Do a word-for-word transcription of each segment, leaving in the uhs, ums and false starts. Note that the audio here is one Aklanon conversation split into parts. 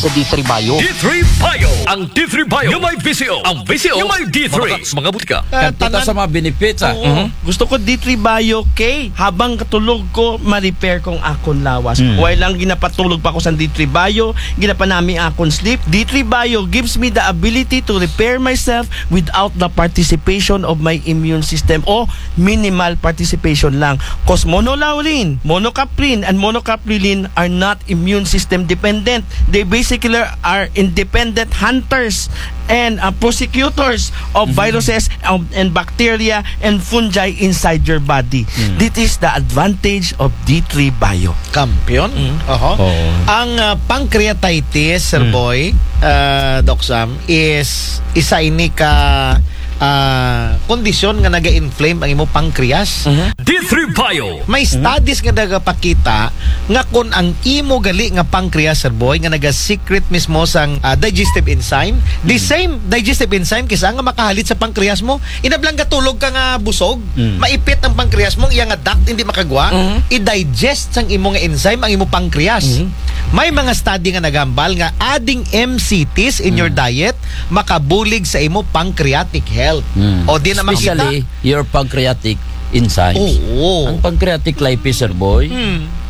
Sa D three Bio. D three Bio. Ang D three Bio nga may visyo. Ang visyo nga may D three. Mga, mga butika. Kadto ta sa mga benefits, ah. Oo. Mhm. Gusto ko D three Bio kay habang katulog ko, ma-repair kong akon lawas. Mm. Way lang ginapatulog pa ko sa D three Bio, ginapanami akon sleep. D three Bio gives me the ability to repair myself without the participation of my immune system o minimal participation lang. Cause monolaurin, monocaprin, and monocaprilin are not immune system dependent. They basically are independent hunters and uh, prosecutors of viruses um, and bacteria and fungi inside your body. This is the advantage of D three Bio. Kampiyon? Oho. Oo. Ang ah, pancreatitis, Sir Boy, ah, Doc Sam, is isa ini ka ah, kondisyon nga naga-inflame ang imo pancreas. D three Bio. May studies nga nagapakita nga kung ang imo gali nga pancreas, Sir Boy, nga naga-secrete mismo sang ah, digestive enzyme, the same digestive enzyme kisa nga makahalit sa pancreas mo, inablang gatulog ka nga busog, maipit ang pancreas mo, iya nga duct hindi makagwa, i-digest sang imo nga enzyme ang imo pancreas. May mga study nga nagambal nga adding M C Ts in your diet makabulig sa imo pancreatic health. O di na makita. Especially your pancreatic enzymes. Oo. Ang pancreatic lipase, Sir Boy,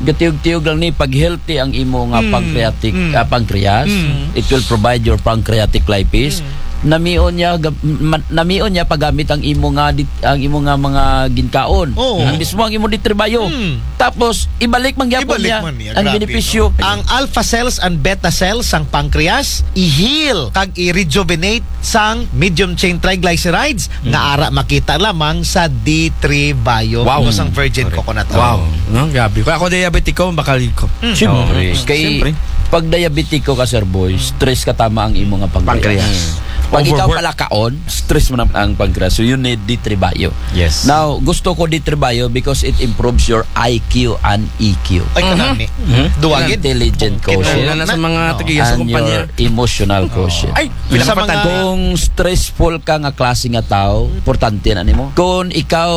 gatiyog-tiyog lang ni pag healthy ang imo nga pancreatic ah, pancreas, it will provide your pancreatic lipase. Namion niya gam- ma- namion niya paggamit ang imo nga dit- ang imo nga mga ginkaon. Oo. Ang mismo ang imo D three Bio. Tapos ibalik man gyapon Ibalik niya man niya. Ang Grabe, benepisyo. No? Ang alpha cells and beta cells sang pancreas i-heal kag i-rejuvenate sang medium chain triglycerides nga ara makita lamang sa D three Bio. Wow. Ito sang virgin coconut oil. Wow. No, grabe. Kung ako diabetiko, bakal ko. Siyempre. Kay Siyempre. Pag diabetiko ka, Sir Boy, stress ka tama ang imo nga pancreas. Pancreas. Pag ikaw palakaon, stress mo na ang pancreas. So you need D three Bio. Yes. Now, gusto ko D three Bio because it improves your I Q and E Q. Ay, kanami. Duwagid. Intelligent quotient. Lalo na sa mga tagiya sa And kumpanya. Your emotional quotient. Ay, Sa pinakapatag mga ko. Kung stressful ka nga klase nga tao, importante na nimo. Kung ikaw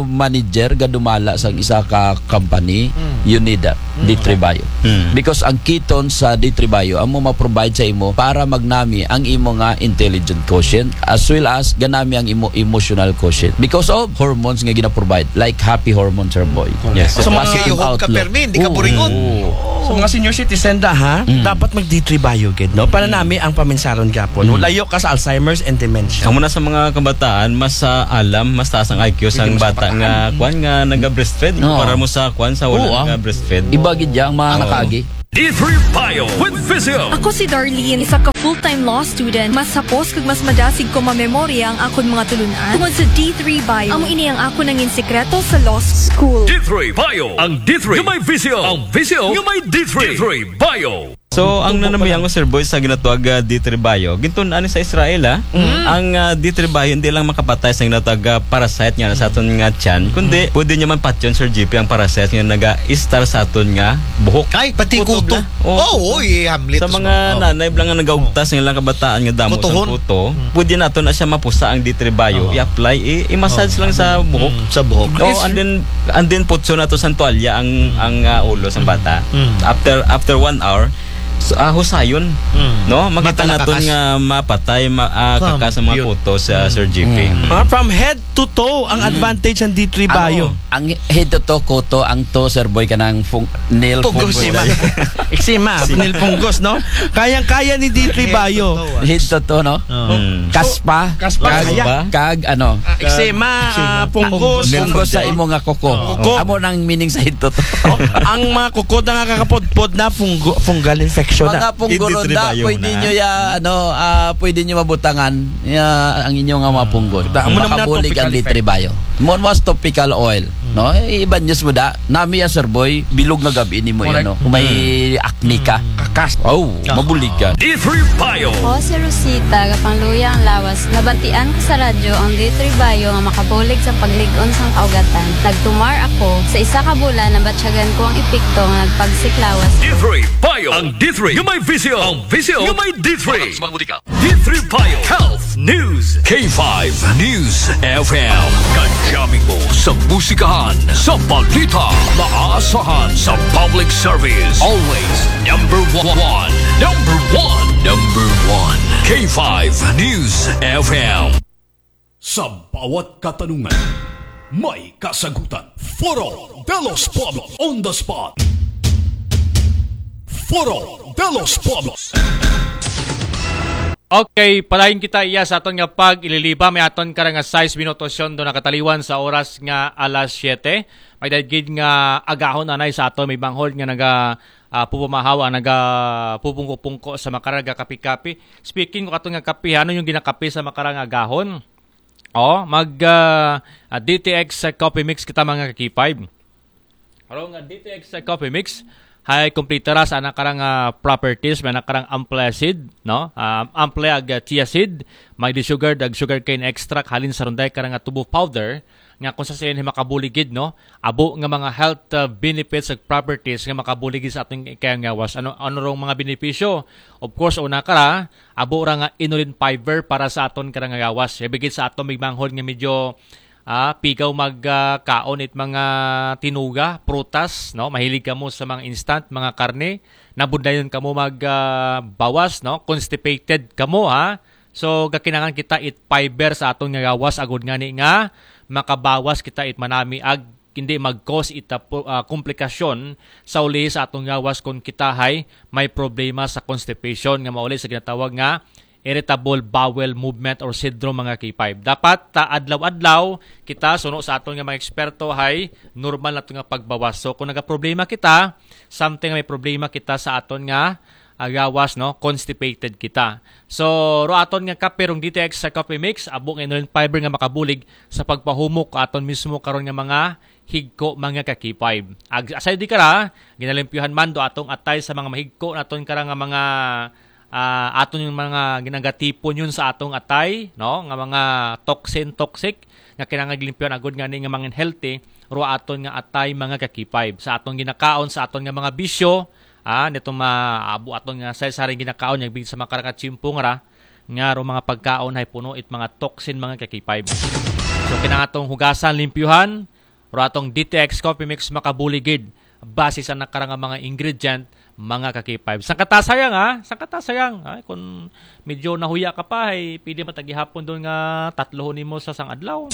manager, gadumala sa isa ka company, you need that. D three Bio. Because ang ketone sa D three Bio, amo ma-provide sa imo para magnami ang imo nga intelligent quotient as well as ganami ang imo emotional quotient because of hormones nga gina-provide, like happy hormones, Sir Boy. Yes. Sa mga positive outlook. Hindi ka buringon. Oo. Sa mga senior citizen da, ha? Dapat mag D three Bio gid, no? Para nami ang paminsaron gapon. Layo ka sa Alzheimer's and dementia. Amo na sa mga kabataan, mas ah, alam, mas taas ang I Q sa bata nga kwan nga naga-breastfeed. Kumpara mo sa kwan sa wala naga-breastfeed. Iba gid yang mga nakaagi. D three Bio with Visio. Ako si Darlene, isa ka full-time law student. Mas hapos kag mas madasig ko mamemorya ang akon mga tulunan tungod sa D three Bio. Amo ini ang akon nangin sikreto sa law school. D three Bio. Ang D three nga may visyo. Ang visyo nga may D three. D three Bio. So, ang nanambiyan ko, Sir Boy, sa ginatawag ah, D three Bio, gintun-an sa Israel, ah. Ang ah, D three Bio hindi lang makapatay sa ginatawag ah, parasite nga sa aton nga tiyan, kundi pwede niya man patyon, Sir G P, ang parasite nga naga-istar sa aton nga buhok. Ay, pati kuto. Kuto bla. Oo, oo, i-hamlet Sa mga nanay bla nga nagaugtas nga ilang kabataan nga damo sa kuto, pwede nato na siya mapusa ang D three Bio, i-apply, i- i-massage lang sa buhok. Sa buhok. Oh, and then and then putso nato sa tuwalya ang ang ah, ulo sa bata. After after one hour, so, ah, husayon. No? Makita naton nga mapatay, ma, ah, kakas ang mga kuto sa Sir G P. Ah, from head to toe ang advantage ng D three Bio. Ang head to toe, kuto, ang toe, Sir Boy, kanang fung, nail fungus. Eczema. Eczema, nail fungus, no? Kayang-kaya ni D three Bio. Head to toe, no? Kaspa. Kaspa, kag, kaya. Kag, ano? Eczema, ah, fungus. Fungus sa imo nga kuko. Kuko. Amo nang meaning sa head to toe. Oh, ang mga kuko na nga kakapudpod na fungu-, fungal infection na. Mga punggo ron da, pwede nyo ya, ano, ah, pwede nyo mabutangan ya, ang inyo nga mga punggo. Amo naman na makabulig ang topical D three Bio. Mo mas topical oil, no? Eh, iban news mo da, nami ya, Sir Boy, bilog nga gabi ni mo yan, no? May acne ka. Kakas. Oh, mabulig ka. D three Bio. Ako si Rosita, gapangluya ang lawas. Nabantian ko sa radyo ang D three Bio nga makabulig sa paglig-on sa kaugatan. Nagtumar ako. Sa isa ka bulan, nabatyagan ko ang epekto nga nagpagsik lawas. D three Bio. Ang D three nga may visyo. Ang visyo nga may D three. D three Bio Health News. K five News F M. Kadyamin mo sa musikahan, sa balita, maasahan sa public service. Always number one. Number one. K five News F M. Sa bawat katanungan, may kasagutan. Foro de los Pueblos on the spot. Foro de los Pueblos. Okay, padayon kita iya sa aton nga pag-ililiba. May aton karang nga sais minutos yon do nakataliwan sa oras nga alas siyete. May daigid nga agahon anay sa aton may banghod nga naga ah, pupumahaw ang naga pupungko-pungko sa makarang kapi-kapi. Speaking ko aton nga kape, ano yung ginakape sa makarang agahon? Oh, mag ah, ah, D T X Coffee Mix kita, mga kakipay. Karong nga D T X Coffee Mix, hay kompleto ra sa anak karang ah, properties, may anak karang ample seed, no? Ah, ample ag ah, chia seed, may desugared ag sugarcane extract halin sa runday karang ah, tubo powder, nga kung sa siya makabuligid, no? Abo nga mga health ah, benefits ag properties nga makabuligid sa ating kaya ngawas. Ano ano rong mga benepisyo? Of course, una kara, abo ra nga inulin fiber para sa aton karang ngawas. Ibigid sa aton migmanghod nga medyo ah, pigaw mag ah, kaon it mga tinuga, prutas, no? Mahilig kamo sa mga instant, mga karne, nabundayon kamo mag ah, bawas, no? Constipated kamo, ha? So gakinangan kita it fiber sa aton nga gawas agod ngani nga makabawas kita it manami ag hindi mag-cause ita po- ah, komplikasyon sa uli sa atong gawas kung kita hay may problema sa constipation nga mauli sa ginatawag nga irritable bowel movement or syndrome, mga K five. Dapat ta adlaw-adlaw kita suno sa aton nga mga eksperto hay normal na to nga pagbawas. So kung nagaproblema kita, something may problema kita sa aton nga agawas, no, constipated kita. So ro aton nga kape rong D T X sa coffee mix, abo nga inulin fiber nga makabulig sa pagpahumok aton mismo karon nga mga higko, mga ka-K five. Ag aside di kara, ginalimpyuhan man do atong atay sa mga mahigko naton kara nga mga ah, aton yung mga ginagatipon yun sa atong atay, no, nga mga toxin, toxic nga kinahanglan limpyuhan agud nga ni nga mga healthy ro aton nga atay, mga ka-K five, sa atong ginakaon, sa aton nga mga bisyo, ah, nitong maabo aton nga sa saring ginakaon nga bigid sa mga karakatsimpo nga ra nga ro mga pagkaon hay puno it mga toxin, mga ka-K five. So kinahanglan atong hugasan, limpyuhan, ro atong D T X Coffee Mix makabuligid base sa nakarang nga mga ingredient, mga ka-K five. Sangkatasayang, ha? Sangkatasayang. Ay, kung medyo nahuya ka pa, ay pwede matagihapon doon nga tatlohon nimo sa sang adlaw.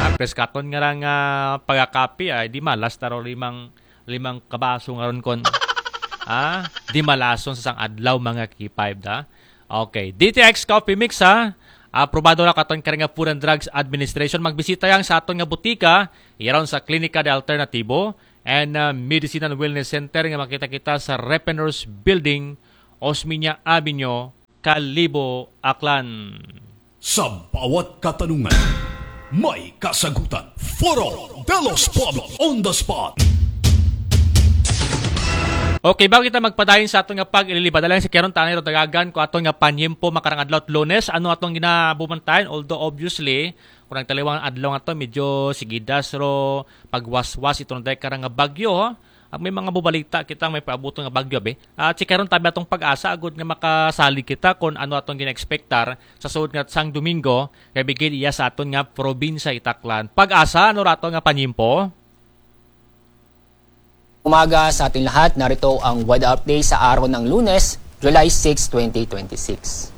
Ah, preskakon nga lang uh, pagkakapi, ay di malas taro limang limang kabaso nga ron kon. Ah, di malason sa sang adlaw, mga K five, da. Okay, D T X Coffee Mix, ha. Aprobado na katon kare nga Food and Drugs Administration. Magbisita yang sa aton nga butika, yaron sa Klinika de Alternativo and uh, Medicine and Wellness Center nga makita kita sa Repeners Building, Osmeña Avenue, Kalibo, Aklan. Sa bawat katanungan, may kasagutan. Foro de los Pueblos on the spot. Okay, bago kita magpadayon sa aton nga pag-ililibad, alang si Keron Tanay Rodagagan ko aton nga panyempo makarang adlaw Lunes, ano atong ginabumantayan? Although obviously, kung nagtaliwang adlaw nga to, medyo sigidas ro pagwaswas itong dahil karang nga bagyo, ho? Ang may mga bubalita kita may paabuto nga bagyo, be. At si Keron tabi atong pag-asa, agud nga makasalig kita kung ano atong gina-expectar sa suod nga sang Domingo, kay bigid iya sa aton nga probinsya itaklan. Pag-asa, ano rato nga panyempo? Umaga sa ating lahat, narito ang weather update sa araw ng Lunes, July six, twenty twenty-six.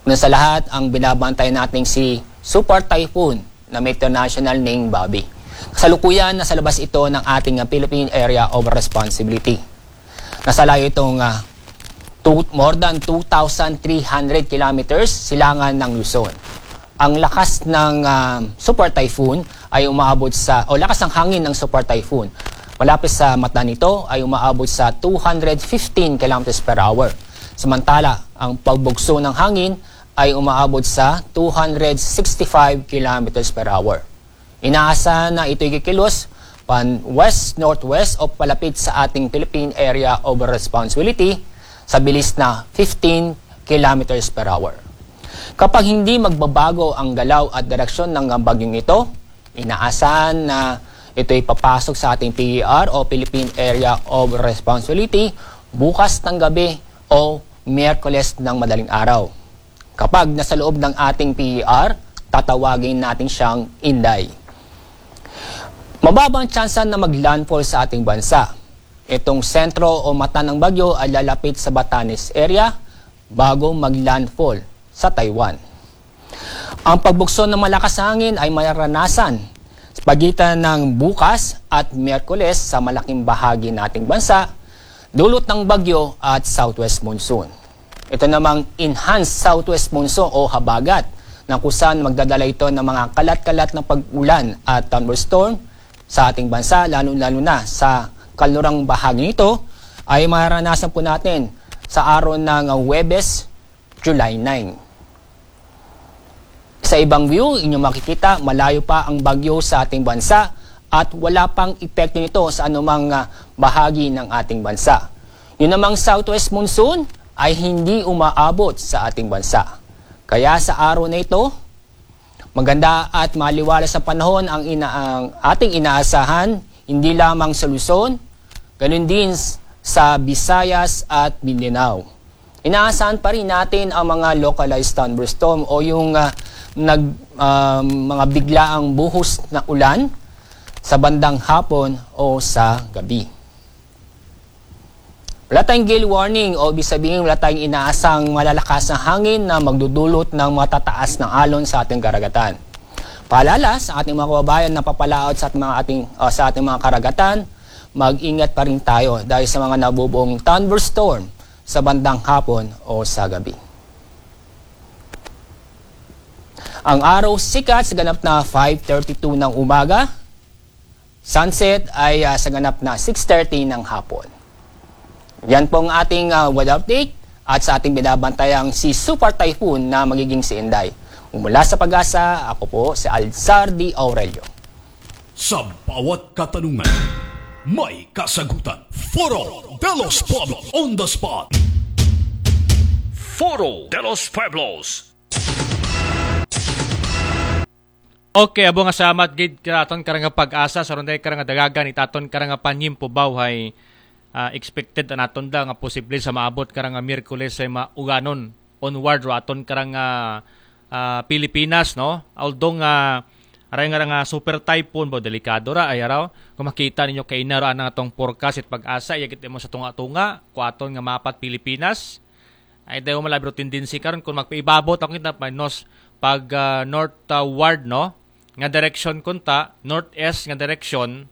Una sa lahat, ang binabantayan nating si Super Typhoon na Meteor National named Bobby. Kasalukuyan, nasa labas ito ng ating Philippine Area of Responsibility. Nasa layo itong uh, two, more than two thousand three hundred kilometers silangan ng Luzon. Ang lakas ng uh, Super Typhoon ay umaabot sa, o lakas ng hangin ng Super Typhoon malapit sa mata nito ay umaabot sa two hundred fifteen kilometers per hour. Samantala, ang pagbugso ng hangin ay umaabot sa two hundred sixty-five kilometers per hour. Inaasahan na ito'y kikilos pan west-northwest o palapit sa ating Philippine Area of Responsibility sa bilis na fifteen kilometers per hour. Kapag hindi magbabago ang galaw at direksyon ng bagyong ito, inaasahan na ito'y papasok sa ating P E R o Philippine Area of Responsibility bukas ng gabi o Miyerkules ng madaling araw. Kapag nasa loob ng ating P E R, tatawagin natin siyang Inday. Mababa ang tsansa na mag-landfall sa ating bansa. Itong sentro o mata ng bagyo ay lalapit sa Batanes area bago mag-landfall sa Taiwan. Ang pagbukso ng malakas na hangin ay maranasan sa pagitan ng bukas at Miyerkules sa malaking bahagi ng ating bansa, dulot ng bagyo at southwest monsoon. Ito namang enhanced southwest monsoon o habagat na kung saan magdadala ito ng mga kalat-kalat na pag-ulan at thunderstorm sa ating bansa, lalo-lalo na sa kalurang bahagi nito, ay maranasan po natin sa araw ng Huwebes, July nine. Sa ibang view, inyong makikita, malayo pa ang bagyo sa ating bansa at wala pang epekto nito sa anumang ah, bahagi ng ating bansa. Yun namang southwest monsoon ay hindi umaabot sa ating bansa. Kaya sa araw na ito, maganda at maliwalas sa panahon ang, ina ang ating inaasahan, hindi lamang sa Luzon, ganun din s- sa Visayas at Mindanao. Inaasahan pa rin natin ang mga localized thunderstorm o yung ah, nag, ah, mga biglaang buhos na ulan sa bandang hapon o sa gabi. Wala tayong gale warning o ibig sabihin wala tayong inaasang malalakas na hangin na magdudulot ng matataas na alon sa ating karagatan. Paalala sa ating mga kababayan na papalaot sa ating mga, ating, ah, sa ating mga karagatan, mag-ingat pa rin tayo dahil sa mga nabubuong thunderstorm sa bandang hapon o sa gabi. Ang araw sikat sa ganap na five thirty-two ng umaga. Sunset ay ah, sa ganap na six thirty ng hapon. Yan pong ating ah, weather update at sa ating binabantayang si Super Typhoon na magiging si Inday. Mula sa Pag-asa, ako po si Alzardi Aurelio. Sa bawat katanungan, may kasagutan. Foro de los Pueblos on the spot. Foro de los Pueblos. Okay, abo nga salamat gid kay aton karang Pag-asa sa ron day karang dagagan it aton karang panyimpo bawhay ah, expected an aton da nga posible sa maabot karang Miyerkules ay mauganon onward ro aton karang ah, ah, Pilipinas, no? Although nga aray nga nga super typhoon bo, delikado ra ay araw. Kung makita ninyo kay inaro anang atong forecast it Pag-asa, iyagit mo sa tunga-tunga ko aton nga mapat Pilipinas. Ay dayo malabiro tendency karon kung magpaibabot ako kita minus pag ah, northward, no? Nga direction kunta, northeast nga direction,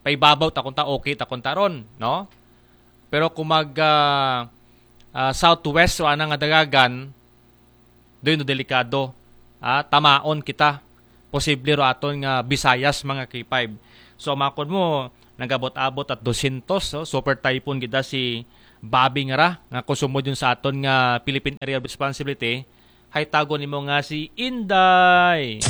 paibabaw ta kunta, okay ta kunta ron, no? Pero kung mag ah, ah, southwest o anang nga dagagan, doon no delikado. Ah, tamaon kita. Posible ro aton nga Visayas mga K five. So makon mo nagabot-abot at dosyentos, so, super typhoon gid da si Bobby nga ra nga kung sumod yun sa aton nga Philippine Area of Responsibility, hay tago nimo nga si Inday.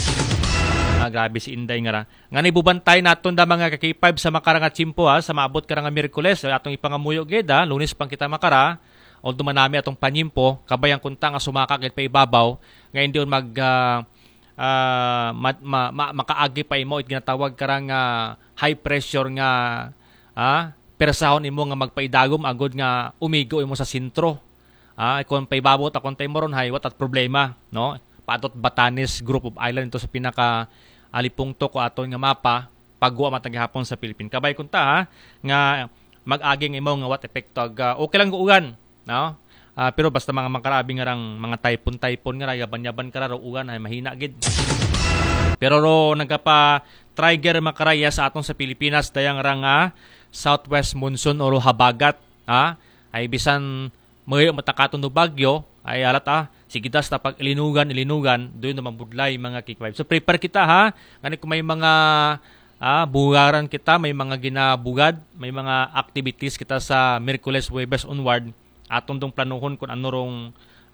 Ah, grabe si Inday nga ra. Nga nibubantay naton da mga ka-K five sa makarang nga tiyempo ha, sa maabot karang nga Miyerkules, atong ipangamuyo gid ha, Lunes pang kita makara. Although manami atong panyimpo, kabayan kunta nga sumaka gid pa ibabaw, nga hindi mag ah, ah, ma- ma- ma- makaagi pa imo it ginatawag karang ah, high pressure nga ah, persahon imo nga magpaidagom agod nga umigo imo sa sentro. Ah, kung paibabaw ta kung tayo moron hay, what at problema, no? Patot Batanes group of island ito sa pinaka alipungto ko aton nga mapa, pagwa matagihapon sa Philippine. Kabay kunta ha, nga mag-aging imo nga what epekto ag ah, okay lang guugan, no? Ah, pero basta mga makarabi nga rang mga typhoon-typhoon nga ra, yaban-yaban ka ra, ugan ay mahina gid. Pero ro nagapa trigger makaraya sa aton sa Pilipinas dayang ra nga southwest monsoon o ro habagat, ha? Ay bisan mayo matakaton do bagyo, ay alat ah, sige das ta pag ilinugan, ilinugan, doon naman budlay mga K five. So prepare kita ha, ngani kung may mga ah, bugaran kita, may mga ginabugad, may mga activities kita sa Miyerkules, Huwebes onward, atong dong planuhon kung ano rong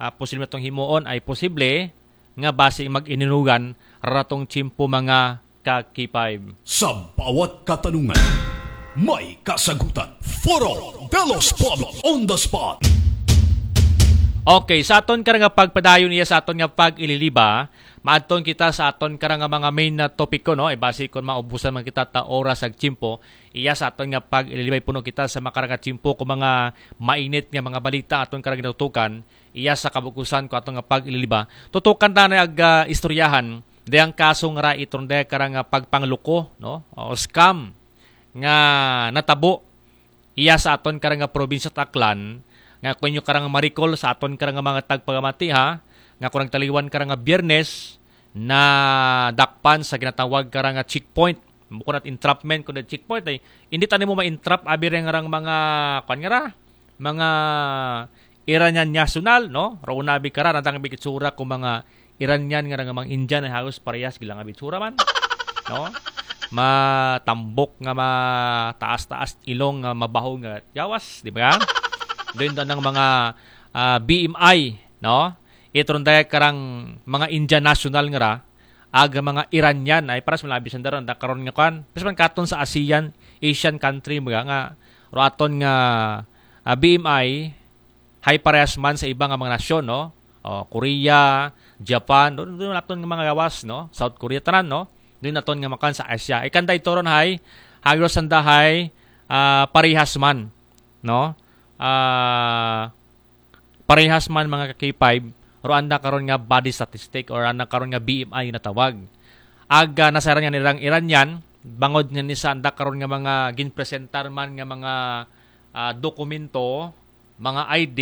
ah, posible natong himuon ay posible nga basi mag-ininugan ratong tiyempo mga ka-K five. Sa bawat katanungan, may kasagutan. Foro de los Pueblos on the spot. Okay, sa aton karang nga pagpadayon iya sa aton nga pag-ililiba, maadton kita sa aton karang nga mga main na topiko, no? Ibasi kon maubusan man kita ta oras ag tiyempo, iya sa aton nga pag-ililiba puno kita sa makarang nga tiyempo kung mga mainit nga mga balita aton karang ginatutukan, iya sa kabukusan ko aton nga pag-ililiba. Tutukan ta na ag ah, istoryahan dayang kaso nga ra itron daya karang nga pagpangluko, no? O scam nga natabo iya sa aton karang nga probinsya Aklan, Nga kun inyo karang marikol sa aton karang mga tagpagamati, ha, nga kun nagtaliwan karang Biyernes, na dakpan sa ginatawag karang checkpoint. Bukon at entrapment, kun checkpoint ay, hindi tani mo ma-entrap abi reng rang mga, kwan nga ra, mga Iranian national, no? Rauna bi kara, randang bi itsura kung mga Iranian nga rang mga Indian ay halos parehas gila nga bitsura man, no? Matambok nga mataas-taas ilong nga mabaho nga yawas, di ba? Doon doon ang mga ah, B M I, no? Itron daya karang mga Indian national nga ra, aga mga Iranian, ay paras malabi sa daron, da karon nga kwan. Pas man katon sa ASEAN, Asian country, mga nga, ro aton nga ah, B M I, high parehas man sa iba nga mga nasyon, no? O, Korea, Japan, doon, doon aton nga mga gawas, no? South Korea, tanan, no? Doon aton nga makan sa Asia. Ikan da ito ron, hay, hagros sanda, hay, ah, parehas man, no? Ah, parehas man mga ka-K five, ro anda karon nga body statistic or anda karon nga B M I na tawag. Ag ah, nasaran nga nirang Iranian, bangod nga ni sa anda karon nga mga ginpresentar man nga mga ah, dokumento, mga I D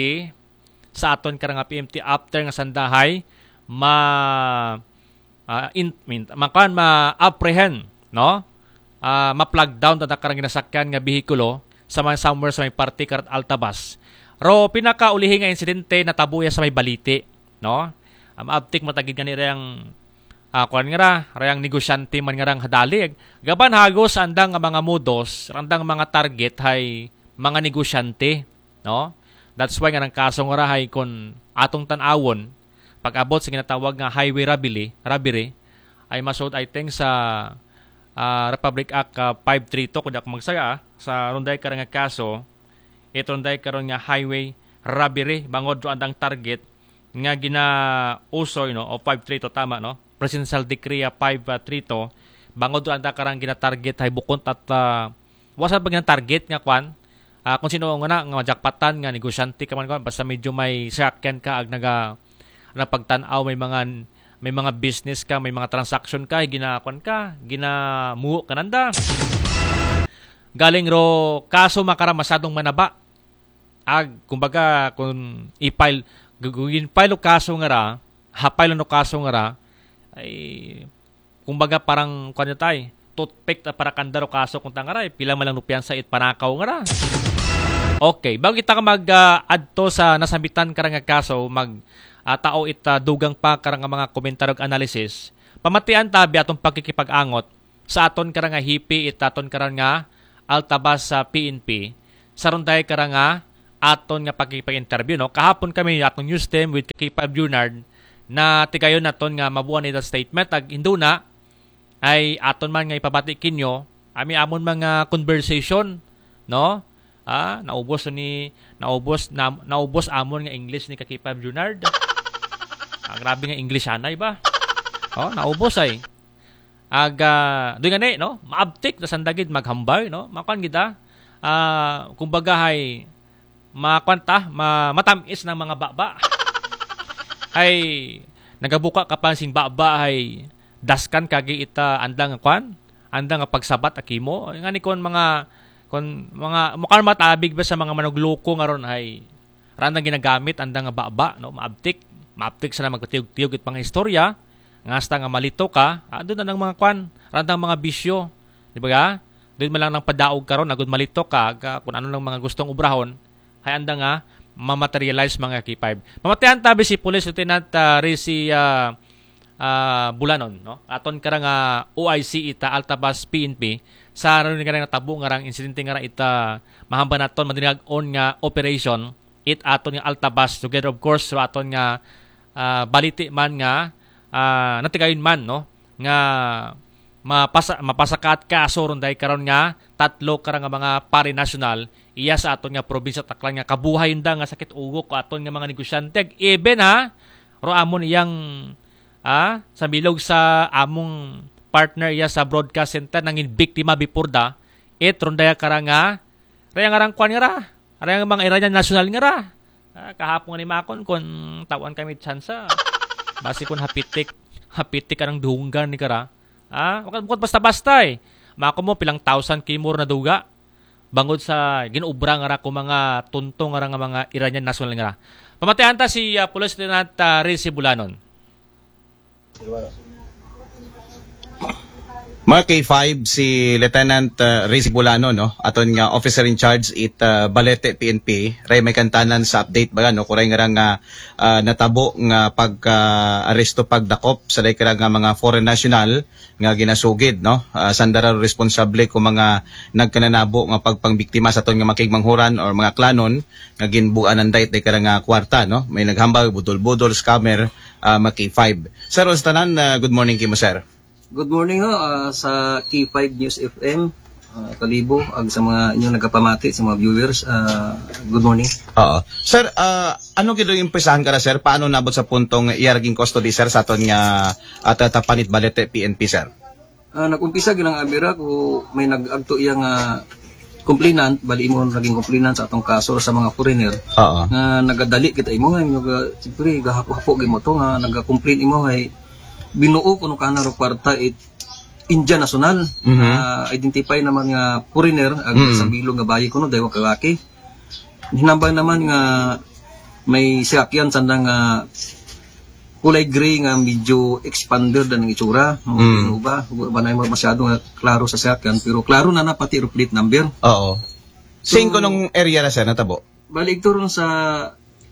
sa aton karang P M T after nga sandahay ma ah, in, min, makuan, ma-apprehend, no? Ah, ma-flag down ta karang ginasakyan nga behikulo sa mga somewhere sa may parte karat Altabas. Ro pinakaulihi nga insidente natabo ya sa may Balite, no? Ang abtik matagid nga ni rayang ah, kuan nga ra, rayang negosyante man nga rang hadali. Gaban hagos andang nga mga modus, andang mga target hay mga negosyante, no? That's why nga nang kaso nga ra hay kun atong tan-awon, pag-abot sa ginatawag nga highway robbery, robbery, ay masud, I think, sa ah, Republic Act ah, five three two, kung di ako magsaya, ah, sa runday karon nga kaso, it runday karon nga highway robbery, bangod ro andang target nga ginausoy, no, o five three two, tama, no? Presidential Decree ah, five three two, bangod ro anda karang ginatarget hay bukon at ah, wasa pa ginatarget nga kwan, ah, kung sino nga na, nga majakpatan, nga negosyante ka man, kwan, basta medyo may sakyan ka, ag naga, nagpagtan-aw, may mga, may mga business ka, may mga transaction ka, gina, kwan ka, ginamuo ka nanda. Galing ro, kaso makara masyadong manaba. Ag, kumbaga, kung i-file, gu-, gu-, in-file o kaso nga ra, ha-file no kaso nga ra, ay, kumbaga, parang, kwan niya tay, toothpick ta para kanda ro kaso kung tanga ra, eh, pila man lang no piyansa it panakaw nga ra. Okay, bago kita ka mag ah, adto sa nasambitan ka ra nga kaso, mag ah, tao it ah, dugang pa ka ra nga mga komentaryo ug analysis. Pamatian ta bi atong pakikipag-angot sa aton ka ra nga hipi, it aton ka ra nga altabas sa P N P, sa runday ka ra nga aton nga pakikipag-interview, no? Kahapon kami atong news team with K five Junard na tigayon naton nga mabuan ita statement, ag hinduna ay aton man nga ipabati kinyo, ami amon mga conversation, no? Ah, naubos ni, naubos na, naubos amon nga English ni ka K five Junard. Ah, grabe nga English anay ba? Oh, naubos ay. Ag ah, doy nga ni, no? Maabtik na sandagid maghambay, no? Makuan gid ah. Ah, kumbaga hay, makuan ta, ma, matamis ng mga baba. Ay, nagabuka ka pa sing baba, ay daskan kagi ita andang kuan, andang nga pagsabat akimo. Nga ni kon mga, kon mga, mukha matabig ba sa mga manugloko nga ron, ay randang ginagamit andang nga baba, no? Maabtik, maabtik sa magkatiyog-tiyog it mga istorya, nga hasta nga malito ka, ah, doon na ng mga kwan, randang mga bisyo, di ba ga? Doon man lang ng padaog karon, agud malito ka, ga, kung ano lang mga gustong ubrahon, hay anda nga, mamaterialize mga K five. Pamatian tabi si Police Lieutenant ah, Rizzy ah, ah, Bulanon, no? Aton karang ah, O I C ita, Altabas P N P, sa rin nga natabo nga rang insidente nga ra ita mahamba naton madinag on nga operation, it aton nga Altabas, together of course, sa aton nga ah, baliti man nga ah, natigayon man, no? Nga mapasa, mapasakaat kaso ron dahil karon nga tatlo kara nga mga pari national iya sa aton nga probinsya Aklan nga kabuhay da nga sakit ulo ko aton nga mga negosyante. Even ha, ro amon iyang ah, sa bilog sa among partner iya sa broadcast center nangin biktima before da, it ron daya kara nga raya nga rang kwan nga ra, raya nga mga Iranian national nga ra. Ah, kahapon nga ni makon kun tawan kami tsansa. Basi kun hapitik, hapitik anang dunggan ni kara. Ah, bukod, bukod basta-basta eh. Mako mo pilang thousand kimor na duga. bangod sa gin-obra nga ra ko mga tunto nga ra nga mga Iranian national nga ra. Pamatian ta si, ah, Police Lieutenant, ah, Rizzy Bulanon. Mga K five, si Lieutenant, uh, Rizzy Bulano, no? Aton nga officer in charge it, uh, Balete P N P, ray may kantanan sa update ba, no? Kuray nga ra nga, uh, natabo nga pagka-aresto, pagdakop sa day kara nga mga foreign national nga ginasugid, no? Uh, sanda ra responsable ko mga nagkananabo nga pagpangbiktima sa aton nga makigmanghuran or mga klanon nga ginbuan ng dait day kara nga kwarta, no? May naghambal, budol-budol, scammer, uh, mga K five. Sir, sa tanan, uh, good morning kimo, sir. Good morning ho, ah, sa K five News F M, ah, Kalibo, ag sa mga inyong nagapamati, sa mga viewers, ah, good morning. Oo. Sir, ah, ano gid ang umpisahan ka na, sir? Paano nabot sa puntong iyaraging custody, sir, sa aton nga, ah, tatapanit Balete P N P, sir? Ah, nag-umpisa gid ang abira ko may nag-agto iya nga complainant, bali imo naging complainant sa atong kaso sa mga foreigner. Oo. Nga nagadali kita imo, nga, nga, siyempre, gahapo-hapo gid mo to, nga nag-complain imo, ay binuo kuno kana ro kwarta it Indian national. Mhm. Ah, identify naman nga foreigner, ag Mm. sa bilog nga bayi kuno, daywa ka lalaki. Hinambang naman nga may siyakyan sanda nga kulay gray nga medyo expander dan ang itsura. Mga Mm. Innova, wa ba na yung masyado nga klaro sa siyakyan, pero klaro na na pati ro plate number. Oo. So, saan ko nung area na, sir, natabo? Bali, ito ron sa,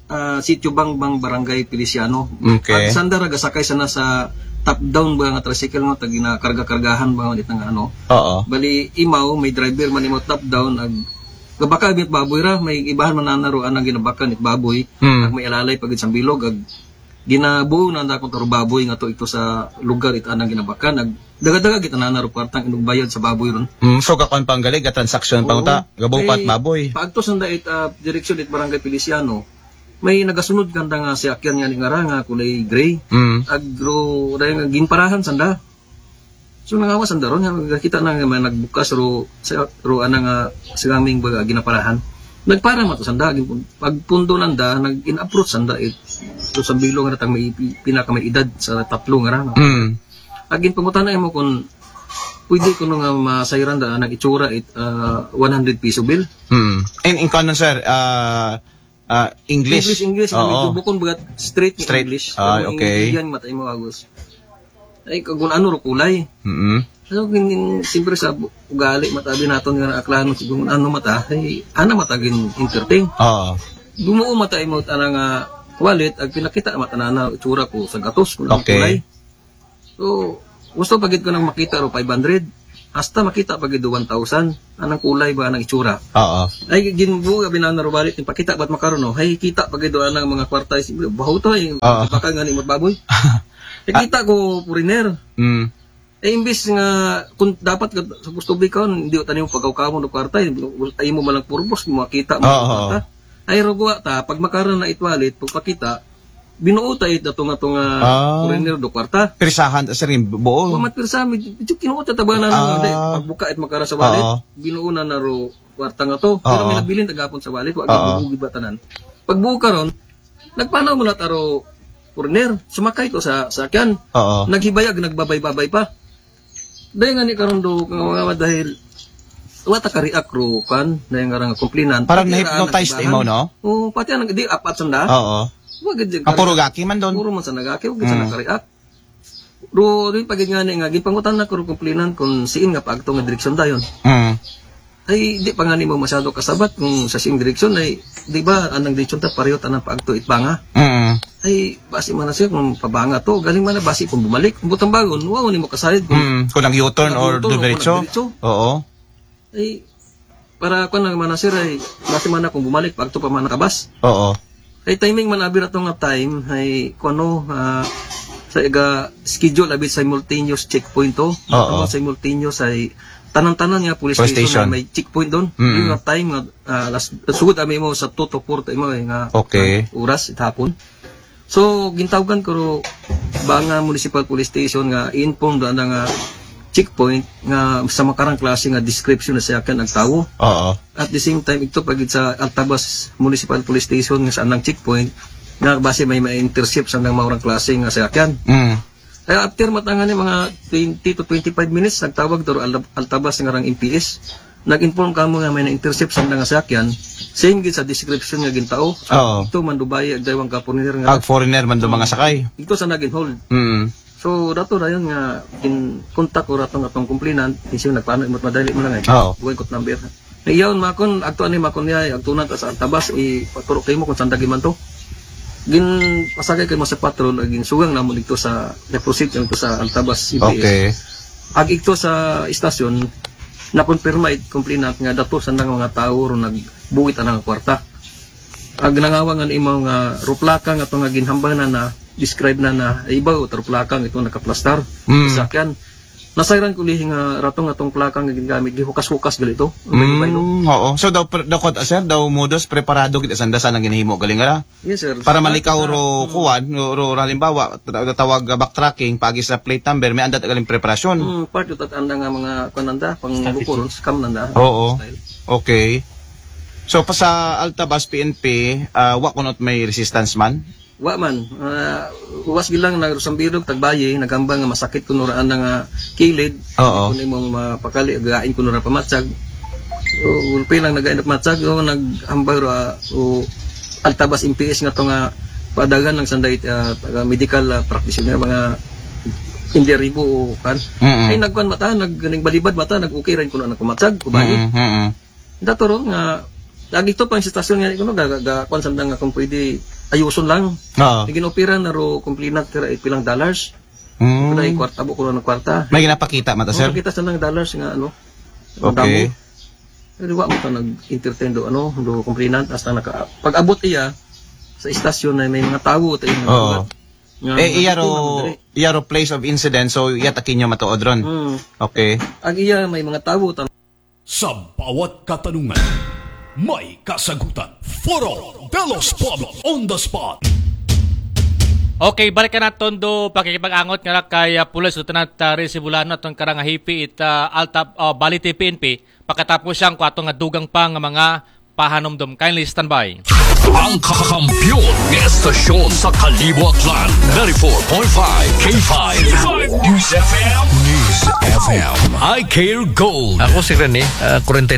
ah, Sitio Bangbang, Barangay Feliciano. Okay. At sanda ra gasakay sana sa top down ba nga tricycle nga tag ginakarga-kargahan ba nga itang ano. Oo. Bali, imaw, may driver man imaw top down, ag gabaka bit baboy ra, may ibahan man nana ro anang ginabakan it baboy, Mm. ag may alalay pag sa bilog, ag ginabuo na nanda kung taro baboy nga to ito sa lugar it anang ginabakan, ag daga-daga gid nana ro kwartang inugbayad sa baboy ron. Mm, so, kakuan pa ang galing, ga-transaction pa Oo. Unta, gabuo pa at May baboy. Paagto sanda it, ah, direksyon it Barangay Feliciano, may nagasunod kanda nga siyakyan nga ni nga ra nga kulay gray. Mm. Agro, dahil nga ginparahan sanda. So, nangawa sanda ron, nga kita na nga may nagbukas ro, sa, ro, ana nga, sa aming baga, ginaparahan. Nagpara man to sanda, gin-, pagpundo nanda, nag-in-approach sanda, it, so, sa bilog nga natang may pi-, pinaka may edad sa tatlo nga ra, no? Mm. Agin pangutana mo kung pwede ko nga masayran da, nang itsura, it, ah, one hundred piso bill. Mm. In, in kanon, sir, ah, ah, English? English, English. Oo. Medyo bukon bagat straight nga Straight. English. Ah, Kung okay. Indian, matay mo, Agus. Ay, kung ano ro kulay. Mm-mm. So, gin-, gin-, siyempre sa bu-, ugali, matabi naton nga aklano, kung ano mata, ay, ana mata gin entertain. Oo. Gumuo mata imo, ana nga wallet, ag pinakita mata na, na itsura ko sa gatos, kung anong Okay. kulay. So, gusto pa gid ko nang makita ro five hundred. Hasta makita pa gid do one thousand. Anang kulay ba, anang itsura? Oo. Ay, ginbuo, abi na ro wallet, ipakita, ba't makaroon, no? Ay, kita pa gid do anang mga kwarta, is-, baho to, eh. Oo. Baka nga ni baboy. Eh, Ah. kita ko foreigner. Mm. Eh, imbis nga, kung dapat ka, sa gusto ba ikaw, hindi ko tanim pagkawkawan ng kwarta, eh. Ay mo malang purpose, makita mo Oo. ang kwarta. Ay, rugwa ta, pag makaroon na it wallet, pagpakita, binuo ta it dato nga to nga Ah. foreigner do kwarta. Pirsahan, sir, yung buo. Wa mat pirsa, medyo, medyo kinuha ta tabanan na, Ah. hindi. Pagbuka it makara sa wallet, Oo. binuo na na ro kwarta nga to. Pero Oo. may nabilin tagapon sa wallet, wa Oo. gibubugi ba tanan. Pagbuo karon, nagpanaw mo na taro foreigner, sumakay to sa sakyan. Oo. Naghibayag, nagbabay-babay pa. Dahil nga ni karon do, nga mga dahil, wa ta ka-react ro, kan, dahil nga nga complainant. Parang Pati ra na-hypnotized nagbahan. Imo, no? Oo, pati ang di apat sanda. Oo. Wa gid Ang puro gaki man doon. Puro man sa nagaki, wa gid sa Mm. naka-react. Ro, rin pagid nga ni nga, ginpangutan na ko ro complainant kung siin nga paagto nga direksyon dayon. Mm. Ay, di pa nga nimo masyado kasabat kung sa sing direksyon ay, di ba, anang direksyon ta, pareho tanang paagto it banga. Mm. Ay, basi man na siya kung pabanga to, galing man na basi kung bumalik. Kung butang bagon, wow, ni mo kasayad kung Mm, kung nag-U-turn or nag-U-turn o kung dumiretso? Nagdiretso. Oo. Ay, para ko na man na, sir, ay, basi man na kung bumalik, paagto pa man nakabas. Oo. Ay, timing man abi na to nga time, ay, kung ano, ah, sa iga schedule abi simultaneous checkpoint to. Oo. Ano, simultaneous ay tanan-tanan nga police Police station station. Ay may checkpoint doon. Mm. Yung nga time nga, ah, las-, sugod ami mo sa two to four time mo, eh, nga Okay. Oras, it hapon. So, gintawgan ko ro ba nga Municipal Police Station nga i-inform do ana nga checkpoint nga sa makarang klase nga description na sa akin ang tawo. Oo. At the same time, ito pagid sa Altabas Municipal Police Station nga sa anang checkpoint nga base may ma-intercept sa nang maurang klase nga sakyan. Mm. Kaya after matangan ni mga twenty to twenty-five minutes, nagtawag do Al-, Altabas nga rang M P S. Nag-inform kamo nga may na-intercept sa nga sakyan, same gid sa description nga gintao. Oo. Ito man Dubai, ag daywang ka foreigner nga. Ag foreigner man do mga sakay. Ito sa naging hold. Mm. So, dato dayon nga in contact ko ratong atong complainant, isip nagpaano imot madali mo lang eh. Oo. Buhay ko number. Iyaw makon, agto ani makon niya, agto na ta sa Altabas, ipaturo kay mo kung saan dagi man to. Gin pasagay kay mo sa patrol, ag ginsugang namo dito sa, na-proceed dito sa Altabas C P S. Okay. Ag ito sa istasyon, na-confirm it complainant nga dato sa nang mga tao ro nagbuwit anang kwarta. Ag nangawa nga imo nga ruplaka nga to nga ginhambal na na describe na na ibaw ruplaka nga ito nakaplastar Mm. sa sakyan. Nasayran ko lihi nga ratong atong plaka nga ginagamit, gihukas-hukas gali to. Ang baylo-baylo. Mm, oo. So daw pre- daw kod sir, daw modus preparado gid sanda sa nang ginahimo galing ra. Yes, sir. Para Sa- malikaw ro Mm. kuwan, ro, ro halimbawa, tra- tawag uh, backtracking, pag sa plate number, may andat galing preparasyon. Mm, part of that anda nga mga kuan anda, pang buko ron, scam nanda. Oo. Style. Okay. So pa sa Altabas P N P, uh, wa kunot may resistance man. Wa man, ah, uwas gilang na Rosambirog, Tagbaye, nagambang nga masakit kuno ra nga kilid. Oo. Kuno imong mapakali, gain kuno ra pamatsag. So, gulpi lang nagain pamatsag, o naghambal ra, o Altabas M P S nga to nga padagan lang sanday ah, taga medical ah, practitioner, mga India Ribo o kan. Mm-mm. Ay nagkuan mata, nag nagbalibad mata, nag okay ra kuno ang pamatsag, kubayo. Mm-mm. Mm-mm. Dato ro nga, lagi to pang sa istasyon nga kuno ga ga- ga- kuan sa nga kung pwede ayuson lang. Oo. Nagin opera na ro complainant tira eh, pilang dollars. Mm. Wala yung kwarta, buko ng kwarta. May ginapakita mata sir. Makita sa nang dollars nga ano. Okay. Damo. Pero wa mo ka nag-entertain do ano, do complainant hasta naka pag-abot iya sa istasyon na may mga tawo tayo nga Oo. nga Eh, iya nagtutunan ro, diri. Iya ro place of incident, so iya takin nyo matuod ron. Hmm. Okay. Ag iya may mga tawo tan Sa bawat katanungan, may kasagutan. Foro de los Pueblos on the spot. Okay, balikan naton do pakikipag-angot nga ra kay ah, Pulis Lieutenant ah, Rizzy Bulano aton karang hipi it ah, Alta ah, Balite P N P. Pakatapos siyang kwato nga dugang pa nga mga pahanumdum. Kindly stand by. Ang kakampiyon ng estasyon sa Kalibo Aklan, ninety-four point five K five News F M. News F M. I Care Gold. Ako si Rene, ah,